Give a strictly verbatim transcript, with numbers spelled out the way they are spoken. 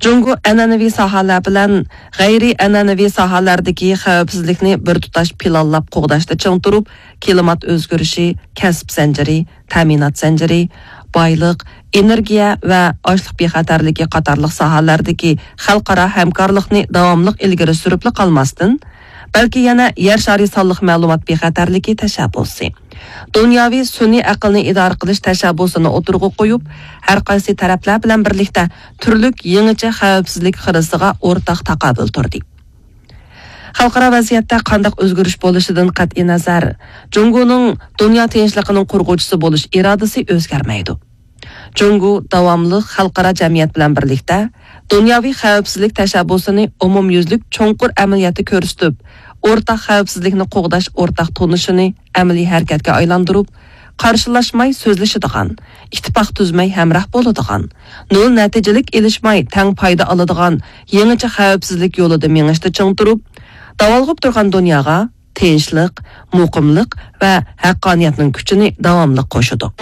جۇڭگو ئەنئەنىۋى ساھەلەر بىلەن غەيرىي ئەنئەنىۋى ساھەلەردىكى خەۋپسىزلىكنى بىر تۇتاش پىلانلاپ قوغداشتا چىڭ تۇرۇپ، كىلىمات ئۆزگىرىشى، كەسىپ زەنجىرى، تەمىنات زەنجىرى، بايلىق، ئېنېرگىيە ۋە ئاشلىق بىخەتەرلىكى قاتارلىق ساھەلەردىكى خەلقئارا ھەمكارلىقنى داۋاملىق ئىلگىرى سۈرۈپلا قالماستىن، بەلكى يەنە يەر شارى سانلىق مەلۇمات بىخەتەرلىكى تەشەببۇسى، دۇنياۋى سۈنئىي ئەقىلنى ئىدارە قىلىش تەشەببۇسىنى ئوتتۇرىغا قويۇپ، ھەر قايسى تەرەپلەر بىلەن بىرلىكتە تۈرلۈك يېڭىچە خەۋپسىزلىك خىرىسىغا ئورتاق تاقابىل تۇردى. خەلقئارا ۋەزىيەتتە قانداق ئۆزگىرىش بولۇشىدىن قەتئىينەزەر، جۇڭگونىڭ دۇنيا تىنچلىقىنىڭ قۇرغۇچىسى بولۇش ئىرادىسى ئۆزگەرمەيدۇ. جۇڭگو داۋاملىق خەلقئارا جەمئىيەت بىلەن بىرلىكتە دۇنياۋى خەۋپسىزلىك تەشەببۇسىنى ئومۇميۈزلۈك چوڭقۇر ئەمەلىيەتتە كۆرسىتىپ، ئورتاق خەۋپسىزلىكنى قوغداش ئورتاق تونۇشىنى ئەمەلىي ھەرىكەتكە ئايلاندۇرۇپ، قارشىلاشماي سۆزلىشىدىغان، ئىتتىپاق تۈزمەي ھەمراھ بولىدىغان، نۆل نەتىجىلىك ئېلىشماي تەڭ پايدا ئالىدىغان يېڭىچە خەۋپسىزلىك يولىدا مېڭىشتا چىڭ تۇرۇپ، داۋالغۇپ تۇرغان دۇنياغا تىنچلىق، مۇقىملىق ۋە ھەققانىيەتنىڭ كۈچىنى داۋاملىق قوشىدۇ.